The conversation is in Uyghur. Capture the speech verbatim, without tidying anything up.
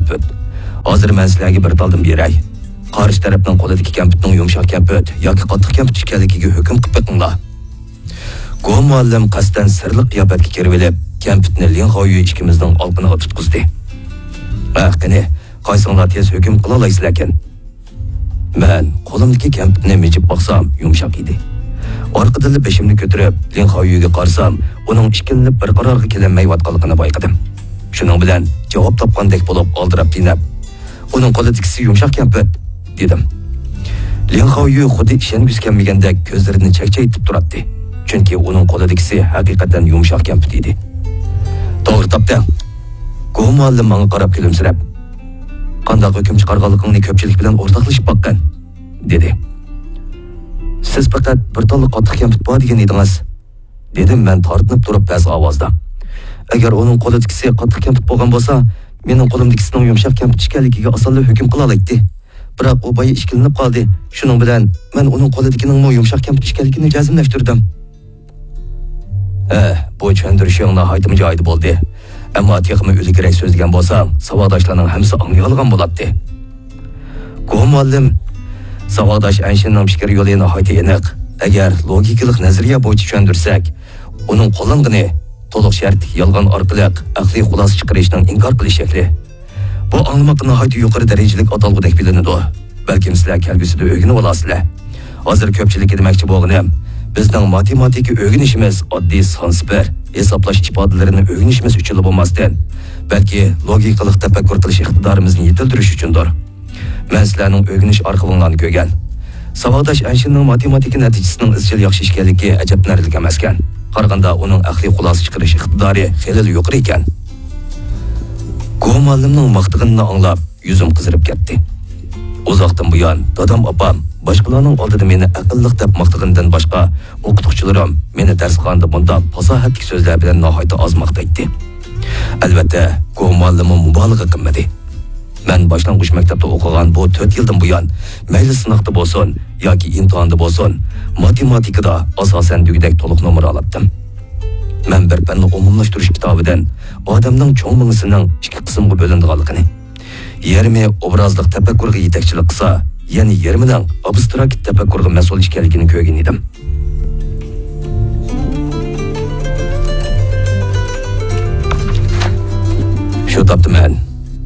كەمپۈت. ھازىر مەن سىلەرگە بىر تالدىن بېرەي. قارشى تەرەپنىڭ قولىدىكى كەمپۈتنىڭ يۇمشاق كەمپۈت ياكى قاتتىق كەمپۈت ئىكەنلىكىگە ھۆكۈم قىلىپ بېقىڭلار. گو مۇئەللىم قەستەن سىرلىق قىياپەتكە كىرىۋېلىپ، كەمپۈتنى لىڭ خاۋيۈ ئىككىمىزنىڭ ئالقىنىغا تۇتقۇزدى. ھە، قېنى، قايسىڭلار تېز ھۆكۈم قىلالايسىلەركىن؟ مەن قولۇمدىكى كەمپۈتنى مىجىپ باقسام، يۇمشاق ئىدى. ئارقىدىنلا بېشىمنى كۆتۈرۈپ، لىڭ خاۋيۈگە قارىسام، ئۇنىڭ ئىككىلىنىپ بىر قارارغا كېلەلمەيۋاتقانلىقىنى بايقىدىم. شۇنىڭ بىلەن جاۋاب تاپقاندەك بولۇپ ئالدىراپ-تېنەپ، «ئۇنىڭ قولىدىكىسى يۇمشاق كەمپۈت» دېدىم. لىڭ خاۋيۈ خۇددى ئىشەنگۈسى كەلمىگەندەك كۆزلىرىنى چەكچەيتىپ تۇراتتى. چۈنكى ئۇنىڭ قولىدىكىسى ھەقىقەتەن يۇمشاق كەمپۈت ئىدى. «توغرا تاپتىڭ.» گو مۇئەللىم ماڭا قاراپ كۈلۈمسىرەپ، «قانداق ھۆكۈم چىقارغانلىقىڭنى كۆپچىلىك بىلەن ئورتاقلىشىپ باققىن» دېدى. «سىز پەقەت بىر تاللا قاتتىق كەمپۈت بار دېگەن ئىدىڭىز» دېدىم مەن تارتىنىپ تۇرۇپ پەس ئاۋازدا. «ئەگەر ئۇنىڭ قولىدىكىسى قاتتىق كەمپۈت بولغان بولسا، مېنىڭ قولۇمدىكىسىنىڭ يۇمشاق كەمپۈت ئىكەنلىكىگە ئاسانلا ھۆكۈم قىلالايتتى. بىراق ئۇ بايا ئىككىلىنىپ قالدى. شۇنىڭ بىلەن مەن ئۇنىڭ قولىدىكىنىڭمۇ يۇمشاق كەمپۈت ئىكەنلىكىنى جەزملەشتۈردۈم.» «ھە، بۇ چۈشەندۈرۈشۈڭ ناھايىتىمۇ جايىدا بولدى. ئەمما تېخىمۇ ئىلگىرىرەك سۆزلىگەن بولساڭ، ساۋاقداشلارنىڭ ھەممىسى ئاڭلىيالىغان بولاتتى.» گو مۇئەللىم، ساۋاقداش ئەنشىننىڭ پىكىر يولى ناھايىتى ئېنىق. ئەگەر لوگىكىلىق نەزەرىيە بويىچە چۈشەندۈرسەك، ئۇنىڭ قوللانغىنى تولۇق شەرتلىك يالغان ئارقىلىق ئەقلىي خۇلاسە چىقىرىشنىڭ ئىنكار قىلىش شەكلى. بۇ ئاڭلىماققا ناھايىتى يۇقىرى دەرىجىلىك ئاتالغۇدەك بىلىنىدۇ. بەلكىم سىلەر كەلگۈسىدە ئۆگىنىۋالارسىلەر. ھازىر كۆپچىلىككە دېمەكچى بولغىنىم، بىزنىڭ ماتېماتىكا ئۆگىنىشىمىز ئاددىي سانسىپىر، ھېسابلاش ئىپادىلىرىنى ئۆگىنىشىمىز ئۈچۈنلا بولماستىن، بەلكى لوگىكىلىق تەپەككۇر قىلىش ئىقتىدارىمىزنى يېتىلدۈرۈش ئۈچۈندۇر. مەن سىلەرنىڭ ئۆگىنىش ئارخىۋىڭلارنى كۆرگەن. ساۋاقداش ئەنشىننىڭ ماتېماتىكا نەتىجىسىنىڭ ئىزچىل ياخشى ئىكەنلىكى ئەجەبلىنەرلىك ئەمەسكەن. قارىغاندا ئۇنىڭ ئەقلىي خۇلاسە چىقىرىش ئىقتىدارى خېلىلا يۇقىرى ئىكەن. گو مۇئەللىمنىڭ ماختىغىنىنى ئاڭلاپ، يۈزۈم قىزىرىپ كەتتى. ئۇزاقتىن بۇيان دادام-ئاپام، باشقىلارنىڭ ئالدىدا مېنى ئەقىللىق دەپ ماختىغىنىدىن باشقا، ئوقۇتقۇچىلىرىم مېنى دەرسخانىدا بۇنداق پاساھەتلىك سۆزلەر بىلەن ناھايىتى ئاز ماختايتتى. ئەلۋەتتە، گو مۇئەللىممۇ مۇبالىغە قىلمىدى. مەن باشلانغۇچ مەكتەپتە ئوقۇغان بۇ تۆت يىلدىن بۇيان، مەيلى سىناقتا بولسۇن ياكى ئىمتىھاندا بولسۇن، ماتېماتىكىدا ئاساسەن دېگۈدەك تولۇق نومۇر ئالاتتىم. مەن بىر پەننى ئومۇملاشتۇرۇش كىتابىدىن ئادەمنىڭ چوڭ مېڭىسىنىڭ ئىككى قىسىمغا بۆلۈنىدىغانلىقىنى، يېرىمى ئوبرازلىق تەپەككۇرغا يېتەكچىلىك قىلسا، يەنە يېرىمىنىڭ ئابستراكت تەپەككۇرغا مەسئۇل ئىكەنلىكىنى كۆرگەن ئىدىم. شۇ تاپتا مەن